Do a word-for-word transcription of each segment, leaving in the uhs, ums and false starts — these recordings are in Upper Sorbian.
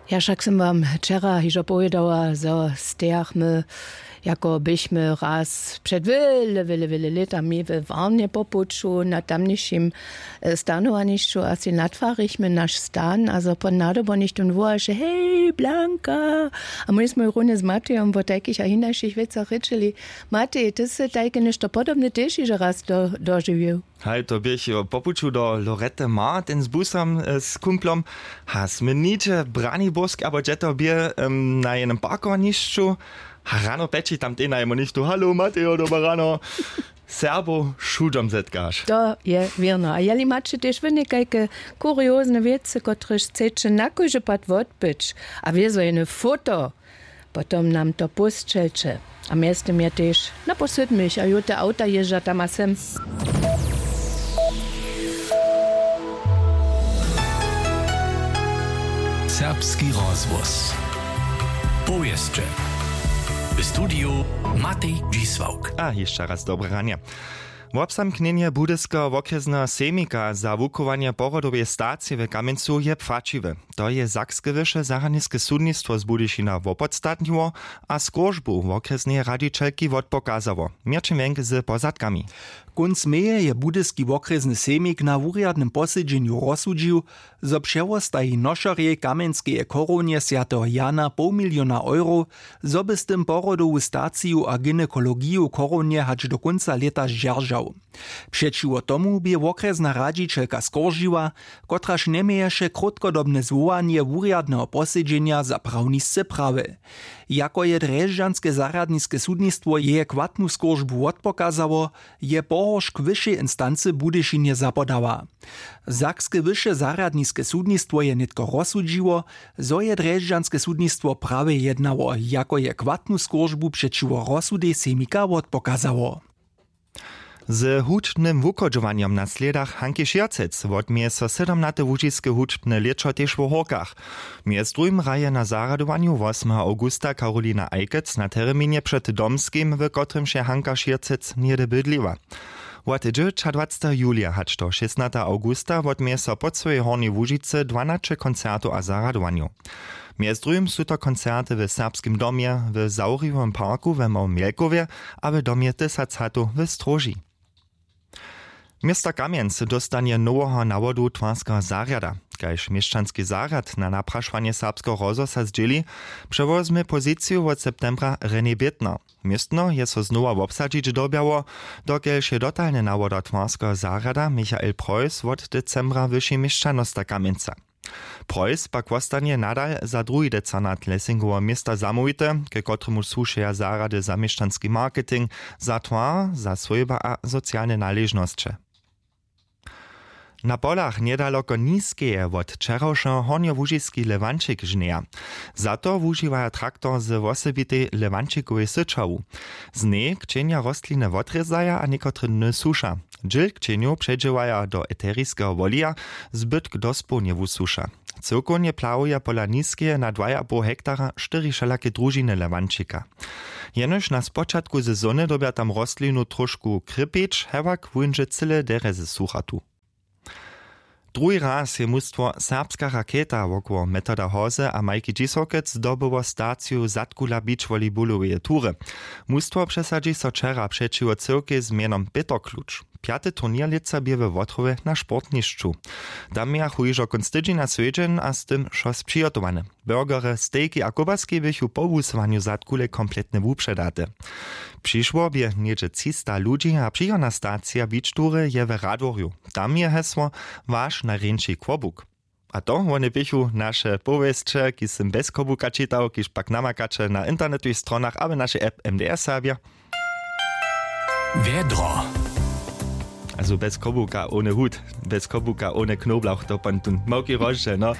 Ja, wšak sym wam wčera hižo powědała, zo stejachmy, jako běchmy raz před wjele wjele wjele lětami we warnje po puću na tamnišim, e, stanowanišću a sej natwarichmy naš stan a zo pon nadobo něchtón wołaše: „Hej, Blanka!” A mój smój runje z Matejom wó tajkich a hinašich wěcach rěčili. Matej, ty sy tajke něšto podobne tež hižo raz dožiwił? Haj, to běch po puću do Lorette Martin z busom, z kumplom. A smy nihdźe w Braniborsk abo dźe to bě, na jenym parkowanišću. A rano pjeći tamtej najemu něchtó: „Halo, Matejo, dobre rano.” Serbow wšudom zetkaš. To je wěrno. A jeli maće tež wónekajke kuriozne wěcy, kotrež chceće na kóždy pad wótbyć a wězo jene foto, potom nam to pósćelće. A mjeztym je tež na pósydmich a jóte awta jězdźa tam a sem. Serbski rozhłos. Powěsće. W studiju Matej Dźisławk. A hišće raz dobre ranje. Wobzamknjenje budyskeho wokrjesneho sejmika za wuchowanje porodoweje stacije w Kamjencu je płaćiwe. To je sakske wyše zarjadniske sudnistwo z Budyšina wopodstatniło a skóržbu wokrjesneje radźićelki wotpokazało. Měrćin wjenk z pozadkami. Kónc meje je budyski wokrjesny sejmik na wurjadnym posedźenju rozsudźił, zo přewostaji nošerjej kamjenskeje chorownje swjateho Jana poł miliona euro, zo by z tym porodowu staciju a gynekologiju chorownje hač do kónca lěta zdźeržał. Přećiwo tomu bě wokrjesna radźićelka skóržiła, kotraž njeměješe krótkodobne zwołanje wurjadneho posedźenja za prawnisce prawy. Jako je drježdźanske zarjadniske sudnistwo jeje chwatnu skóržbu wotpokazało, je pohoršk wyšej instancy w Budyšinje zapodała. Sakske wyše zarjadniske sudnistwo je nětko rozsudźiło, zo je drježdźanske sudnistwo prawje jednało, jako je chwatnu skóržbu přećiwo rozsudej sejmika wotpokazało. Z hudźbnym wuchodźowanjom na slědach Hanki Šěrcec wotměje so sydomnate łužiske hudźbne lěćo tež wo Hórkach. Mjez druhim hraje na zarjadowanju wosmeho awgusta Karolina Ajkec na terminje před Domskim, w kotrymž je Hanka Šěrcec něhdy bydliła. Wot dźewjećadwaceteho julija hač do šěsnateho awgusta wotměje so po cyłej Hornjej Łužicy dwanaće koncertow a zarjadowanjow. Mjez druhim su to koncerty w Serbskim domje, w Zawriwowym parku we Małym Jelkowje a w domje Tysac hatow w Stróži. Město Kamjenc dóstanje noweho nawodu twarskeho zarjada. Kaž měšćanski zarjad na naprašowanje Serbskeho rozhłosa zdźěli, přewozmy poziciju wot septembra René Bětner. Městno je so znowa wobsadźić dyrbjało, dokelž je dotalny nawoda twarskeho zarjada Michael Preuss wot decembra wyši měšćanosta Kamjenca. Preuss pak wostanje nadal za druhi decanat Lessingowego města zamołwity, ke kotremuž słušeja zarjady za měšćanski marketing, za twar, za swójba a socialne naležnosće. Na polach njedaloko Niskeje wot wčerawšeho hornjołužiski Lewančik žnjeja. Za to wužiwaja traktor ze wosebitej Lewančikowej syćawu. Z njej kćenja rostliny wotrězaja a někotre dny suša. Dźěl kćenjow předźěłaja do eteriskeho wolija, zbytk dospołnje wusuša. Cyłkownje plahuja pola Niskeje na dwajapoł hektara štyri wšelake družiny Lewančika. Jenož na spočatku sezony dyrbja tam rostlinu tróšku krěpić, hewak wóńdźe cyle derje ze suchatu. Druhi raz je mustwo Serbska raketa wokoło Metoda Hozy a Majki Dźisławkec zdobyło staciju zadkula beachvolleyballoweje tury. Mustwo přesadźi so wčera přećiwo cyłkej z mjenom Pětr Kluč. Pjaty turněr lětsa bě we Wotrowje na sportnišću. Tam mějachu hižo kónc tydźenja swjedźeń a z tym wšo přihotowane. Burgery, stejki a kobaski běchu po wusyłanju zadkule kompletnje wupředate. Přišło bě něhdźe třista ludźi a přichodna stacija beach tury je w Radworju. Tam je hesło: Waš najrjeńši kłobuk. A to wone běchu naše powěsće, kiž sym bjez kobuka čitał, kiž pak namakaće na internetowych stronach abo našej app M D R Serbja. Wjedro. Also bjez kobuka, ohne hut, bjez kobuka, ohne knoblauch, to pon tón małki rozdźěl, no.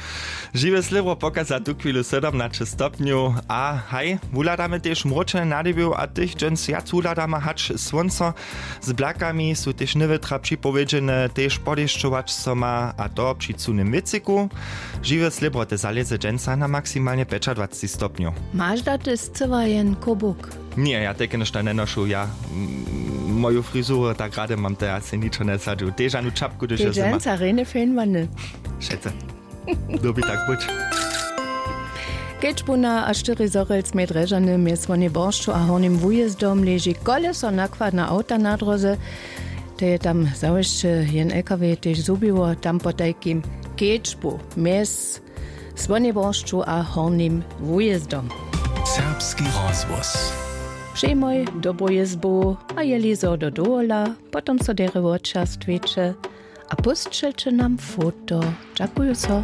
Žiwe slěbro pokaza tuchwilu sydomnaće stopnjow a haj, wuhladamy tež mróčene nadebjo a tych dźens wjac wuhladamy hač słónco. Z blakami su tež njewětra připowědźene, tež podešćować so ma, a to při cunym wětřiku. Žiwe slěbroty zalěze dźensa na maksimalnje pjećadwaceći stopnjow. Maš daty scyła jen kobuk? Ně, ja tajke něšto njenošu, ja, mm, moju frizuru tak rady mam, to ja sej ničo njesadźu. Tež anu čapku, hdyž je zima. Dźensa rjene fejnowany. Wšetcy. Dyrbi tak być. Kedźbuna a štyri zhorjelc mjez drježany mjez słonjej boršću a hornim wujězdom leži koleso nakładna awta na dróze. To je tam zawěsće jen lkw tež zhubiło tam potajkim. Kedźbu mjez słonjej boršću a hornim wujězdom. Serbski rozhłos. Přejmoj dobru jězbu. A jeli zo do dowola, potom so derje wočerstwiće a pósćelće nam foto. Dźakuju so.